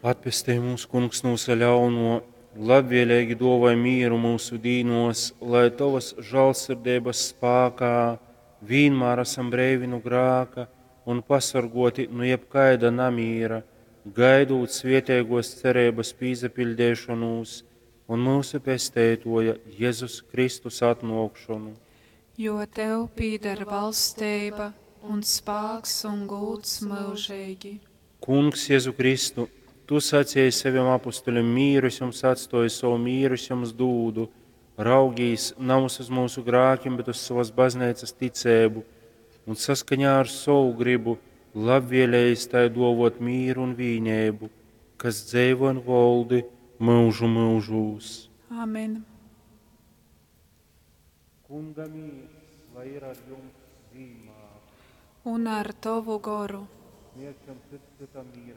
Atpestej mūs, Kungs, nu vysa ļaunuo, labvieleigi duovoj mīru myusu dīnuos, lai Tovys žālsirdeibys spākā vīnmār asam breivi nu grāka un pasorguoti nu jebkaida namīra, gaidūt svieteiguos cereibys pīsapiļdeišonūs un myusu Pesteituoja Jezus Kristus atnuokšonu. Jo tev pīdar valsteiba un spāks un gūds myužeigi. Kungs, Jezu Kristu, Tu saceji sovim apustulim, Mīru es jums atstoju, sovu mīru es jums dūdu. Raugīs navys uz myusu grākim, bet uz sovas bazneicas ticeibu, un saskaņā ar sovu grybu labvēlējis tai duovot mīru un vīneibu, kas dzeivo un voldi myužu myužūs. Amen. Kunga mīrs, lai ir ar jums vīnmār. Un ar tovu goru. Sniegsim cits cytam mīra.